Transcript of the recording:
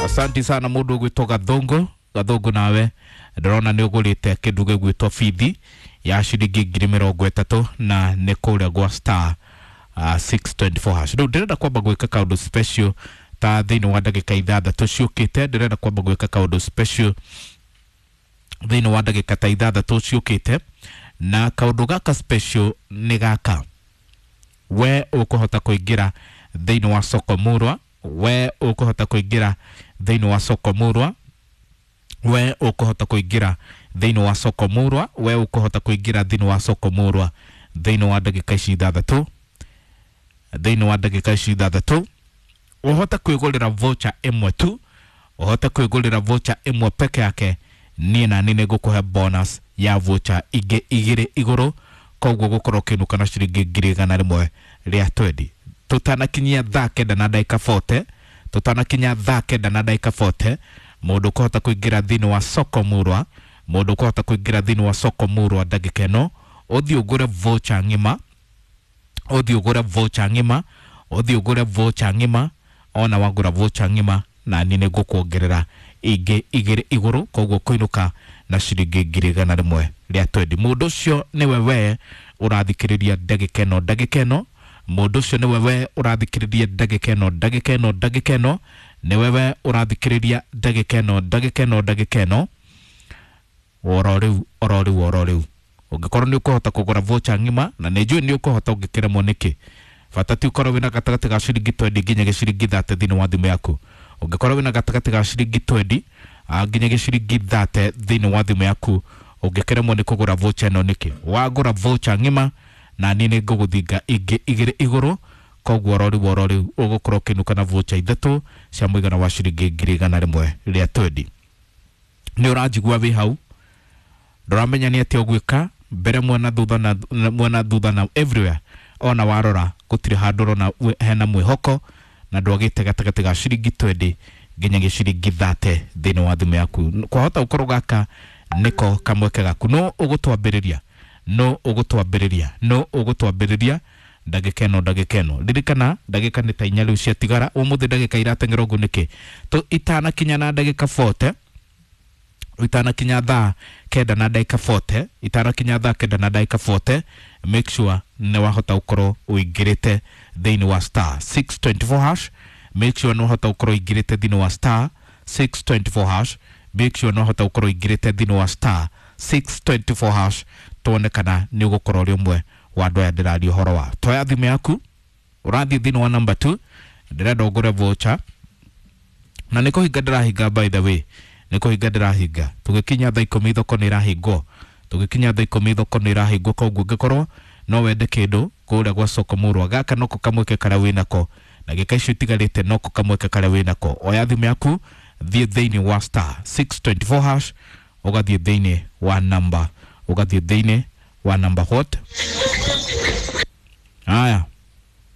Asanti sana mundu ugwitwo Gathungu. Gathungu nawe ndĩrona nĩ ũgũrĩte kĩndũ gĩgwĩtwo bithi ya ciringi 30,000 na nĩ kũrĩa gwa star 624 hash. Rĩu ndĩrenda kwamba gwĩka kaũndũ special ta thĩinĩ wa ndagĩka 6 ciũkĩte. Ndĩrenda kwamba gwĩka kaũndũ special thĩinĩ wa ndagĩka ta 6 ciũkĩte, na kaũndũ gaka special nĩ gaka: we ũkũhota kũingĩra thĩinĩ wa soko murwa, we ũkũhota kũingĩra thĩinĩ wa soko murwa, we ũkũhota kũingĩra thĩinĩ wa soko murwa, we ũkũhota kũingĩra thĩinĩ wa soko murwa thĩinĩ wa ndagĩka ici 6, thĩinĩ wa ndagĩka ici 6 ũhote kwĩgũrĩra voucher ĩmwe tu, ũhote kwĩgũrĩra voucher ĩmwe peke yake. Niĩ nani nĩ ngũkũhe bonus ya voucher ingĩ 2 igũrũ, koguo gũkorwo ũkĩinũka na ciringi 120,000 tũtanakinyia thaa 9 na ndagĩka 40, tũtanakinya thaa 9 na ndagĩka 40. Mũndũ ũkũhota kũingĩra thĩinĩ wa soko murwa, mũndũ ũkũhota kũingĩra thĩinĩ wa soko murwa ndagĩka ĩno, ũthiĩ ũgũre voucher ng'ima, ũthiĩ ũgũre voucher ng'ima, ũthiĩ ũgũre voucher ng'ima. Ona wagũra voucher ng'ima, na niĩ nĩ ngũkuongerera ingĩ 2 igũrũ, koguo kũinũka na ciringi 120,000. Mũndũ ũcio nĩwe we ũrathikĩrĩria ndagĩka ĩno, ndagĩka ĩno. Mũndũ ũcio nĩwe we ũrathikĩrĩria ndagĩka ĩno, ndagĩka ĩno, ndagĩka ĩno. Nĩwe we ũrathikĩrĩria ndagĩka ĩno, ndagĩka ĩno, ndagĩka ĩno, oro rĩu, oro rĩu, oro rĩu. Ũngĩkorwo nĩ ũkũhota kũgũra voucher ng'ima, na nĩ njũĩ nĩ ũkũhota, ũngĩkĩremwo nĩkĩ? Bata ti ũkorwo wĩna gatagatĩ ga ciringi 20 nginya gĩciringi 30 thĩinĩ wa thimũ yaku. Ũngĩkorwo wĩna gatagatĩ ga ciringi 20 nginya gĩciringi 30 thĩinĩ wa thimũ yaku, ũngĩkĩremwo nĩ kũgũra voucher ĩno nĩkĩ? Wagũra voucher ng'ima, na niĩ nĩ ngũgũthinga ingĩ 2 igũrũ, koguo oro rĩu, oro rĩu ũgũkorwo ũkĩinũka na voucher 3 cia mũigana wa ciringi 120,000. Nĩ ũranjigua wĩ hau? Ndũramenya nĩ atĩa ũgwĩka mbere, mwena, thutha, na mwena, thutha na everywhere. Ona warora gũtirĩ handũ ũrona hena mwĩhoko, na ndwagĩte gatagatĩ ga ciringi 20 nginya gĩciringi 30 thĩinĩ wa thimũ yaku. Kwahota gũkorwo gaka nĩko kamweke gaku. No ũgũtwambĩrĩria, no ũgũtwambĩrĩria, no ũgũtwambĩrĩria ndagĩka ĩno, ndagĩka ĩno. Ririkana ndagĩka nĩ ta 4 rĩu ciatigara. Ũmũthĩ ndagĩka irateng'era ũguo nĩkĩ? Itanakinya na ndagĩka 40, itanakinya thaa 9 na ndagĩka 40, itanakinya thaa 9 na ndagĩka 40, make sure nĩ wahota gũkorwo ũingĩrĩte thĩinĩ wa star 624 hash. Make sure nĩ wahota gũkorwo ũingĩrĩte thĩinĩ wa star 624 hash. Make sure nĩ wahota gũkorwo ũingĩrĩte thĩinĩ wa star 624 hash, tuone kana nĩ ũgũkorwo ũrĩ ũmwe wa andũ aya ndĩraria ũhoro wa. Toya thimũ yaku, ũrathiĩ thĩinĩ wa number 2. Ndĩrenda ũgũre voucher, na nĩ kũhinga ndĩrahinga. By the way, nĩ kũhinga ndĩrahinga. Tũgĩkinya thaa 10 thoko nĩ ĩrahingwo, tũgĩkinya thaa 10 thoko nĩ ĩrahingwo. Koguo ũngĩkorwo no wende kĩndũ kũrĩa gwa soko murwa, gaka noko kamweke karĩa wĩnako. Ndagĩka icio itigarĩte, noko kamweke karĩa wĩnako. Oya thimũ yaku, thiĩ thĩinĩ wa star 624 hash, ũgathiĩ thĩinĩ wa number, ũgathiĩ thĩinĩ wa number what? Haya.